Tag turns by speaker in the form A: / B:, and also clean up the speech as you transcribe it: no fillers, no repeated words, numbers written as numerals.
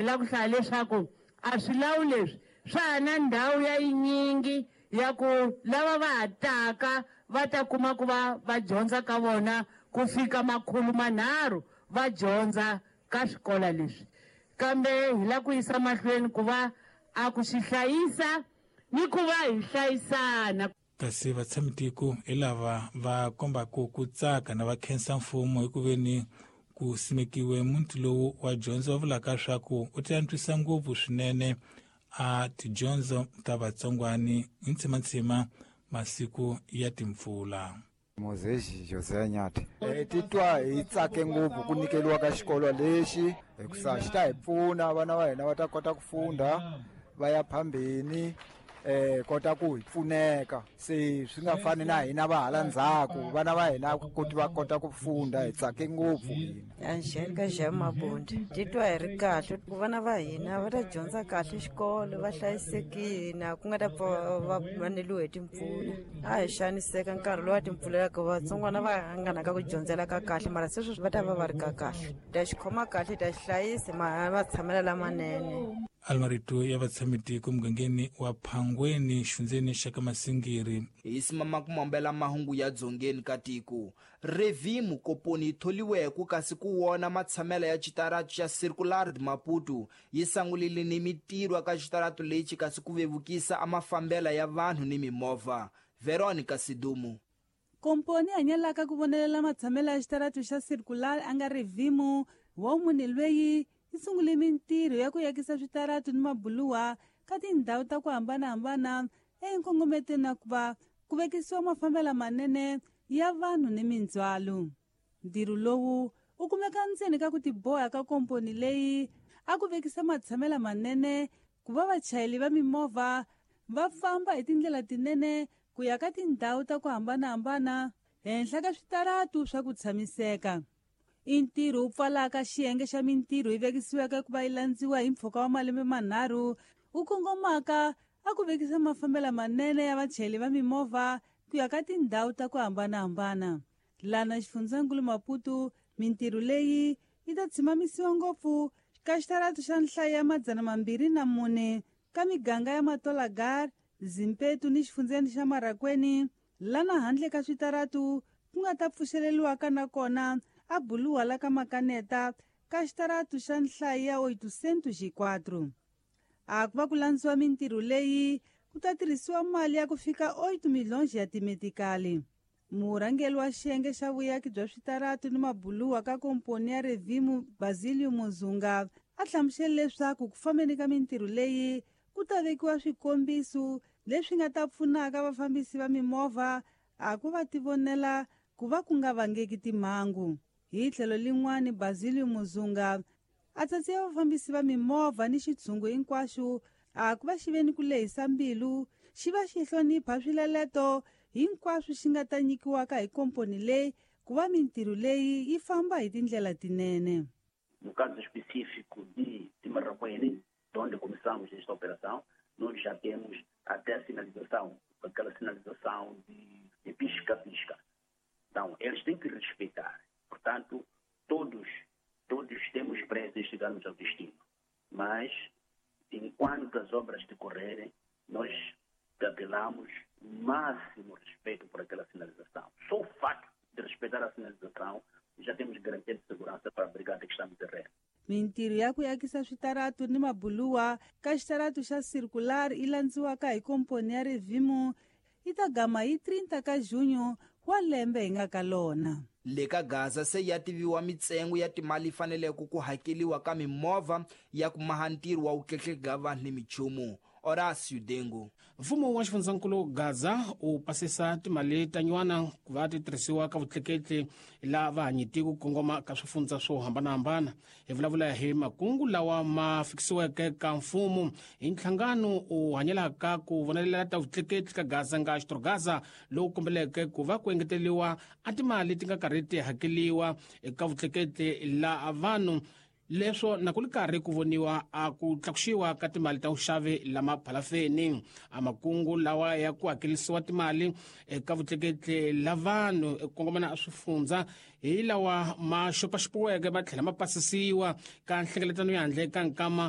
A: Hi lava ku hlaya leswaku a swilawu leswi swa ha na ndhawu ya yinyingi ya ku lava va ha taka va ta kuma ku va va dyondza ka vona ku fika 300 va dyondza ka swikola leswi. Kambe hi lava ku yisa mahlweni ku va a ku xi hlayisa ni ku va hi hlayisana.
B: Kasi vatshamitiko hi lava va kombaka ku tsaka na va khensa mfumo hi ku veni ku simekiwe muti lowu wa dyondzo, va vulaka swa ku u ta antswisa ngopfu swinene a tidyondzo ta vatsongwani hi ntsimantsima masiku ya timpfula.
C: Moses José Nyathi. Hi titwa hi tsake ngopfu ku nyikeriwa ka xikolo lexi hikusa xi ta hi pfuna vana va hina va ta kota ku funda va ya phambeni, kota ku hi pfuneka, se swi nga fani na hina va hala ndzhaku, vana va hina koti va kota ku funda. Hi tsake ngopfu hina.
D: Angelica Jean Mabundi. Titwa hi ri kahle ku vana va hina va ta dyondza kahle xikolo, va hlayisekile, ku nga ta pfa va vaneliwe hi timpfula. A hi xaniseka nkarhi lowu a timpfula ya ku vatsongwana va nga na ka ku dyondzela ka kahle, mara se sweswi va ta va va ri ka kahle. Ta xi khoma kahle, ta xi hlayisa, ma tshamela lamanene.
B: Almarito ya vatshamitiko mugangeni wa Phangweni, xifundzeni xa ka Masingiri.
E: Hi simama ku mambela mahungu ya dzongeni ka tiko. Revimu komponi yi tholiweke kasi ku wona matshamela ya xitaratu xa Circular de Maputo yi sangulile ni mitirho ka xitaratu lexi kasi ku vevukisa a mafambela ya vanhu ni mimovha. Veronica Sidumu.
F: Komponi hanyelaka ku vonelela matshamela ya xitaratu xa Circular a nga Revimu wa munhu lweyi yi sungule mintirho ya ku yakisa switaratu ni mabuluwa ka tindhawu ta ku hambanahambana enkongometweni na ku va ku vekisiwa mafambelo manene ya vanhu ni mindzhwalo. Ntirho lowu wu kumeka ndzeni ka ku tiboha ka komponi leyi a ku vekisa matshamela manene ku va vachayeri va mimovha va famba hi tindlela tinene ku ya ka tindhawu ta ku hambanahambana henhla ka switaratu swa ku tshamiseka. I ntirho wu pfalaka xiyenge xa mintirho yi vekisiweke ku va yi landziwa hi mpfhuka wa malembe manharhu wu kongomaka a ku vekisa mafambelo manene ya vachayeri va mimovha ku ya ka tindhawu ta ku hambanahambana. Lana xifundzankulu Maputo, mintirho leyi yi ta tshimamisiwa ngopfu ka xitaratu xa nhlayo ya 204 ka miganga ya Matolagar, Zimpetu ni xifundzeni xa Marakweni, lana handle ka switaratu ku nga ta pfuxeleriwaka na kona a buluwa la ka Makaneta ka xitaratu xa nhlayo ya 804. A ku va ku landziwa mintirho leyi ku ta tirhisiwa mali ya ku fika 8 milhonji ya timetikali. Murhangeri wa xiyenge xa vuyaki bya switaratu ni mabuluwa ka komponi ya Revimu Basilio Muzunga a hlamusele leswaku ku fambeni ka mintirho leyi ku ta vekiwa swikombiso leswi nga ta pfunaka vafambisi va mimovha a ku va tivonela ku va ku nga vangeki timhangu. Hi tlhelo lin'wani Basilio Muzunga a tsatsiwa vafambisi va mimovha ni xitshungu hinkwaxo a ku va xi ve ni ku lehisa mbilu, xi va xi hlonipha swileleto hinkwaswo xi nga ta nyikiwaka hi komponi leyi ku va mintirho leyi yi famba hi tindlela tinene.
G: No caso específico de Marracuene, onde começamos esta operação, nós já temos até a sinalização, aquela sinalização de pisca-pisca. Então, eles têm que respeitar. Portanto, todos temos pressa em chegarmos ao destino. Mas, enquanto as obras decorrerem, nós apelamos máximo respeito por aquela sinalização. Só o facto de respeitar a sinalização, já temos garantia de segurança para a brigada que está no terreno.
F: Mintirho ya ku yakisa switaratu ni mabuluwa ka xitaratu xa Circular yi landziwaka hi komponi ya Revimu yi ta gama hi 30 ka junho wa lembe hi nga ka lona.
E: Le ka Gaza se ya tiviwa mitsengo ya timali faneleke ku hakeliwa ka mimovha ya ku maha ntirho wa vutleketli vanhu ni michumu. Horácio Dengo.
H: Mfumo wa xifundzankulu Gaza wu pasisa timali ta nyuwana ku va ti tirhisiwa ka vutleketli la vahanyiti ku kongoma ka swifundza swo hambanahambana. Hi vulavula hi makungu lawa ma fikisiweke ka mfumo hi nhlangano wu hanyelaka ku vonelela ta vutleketli ka Gaza nga Xitrogaza, lowu kombeleke ku va ku engeteriwa a timali ti nga karhi ti hakeliwa eka vutleketli la vanhu. Leswo na ku li karhi ku voniwa a ku tlakuxiwa ka timali ta vuxavi lama phalafeni. A makungu lawa ya ku hakelisiwa timali eka vutleketli la vanhu eku kongomana a swifundza hi lawa ma xopaxopiweke ma tlhela ma pasisiwa ka nhlengeletano ya handle ka nkama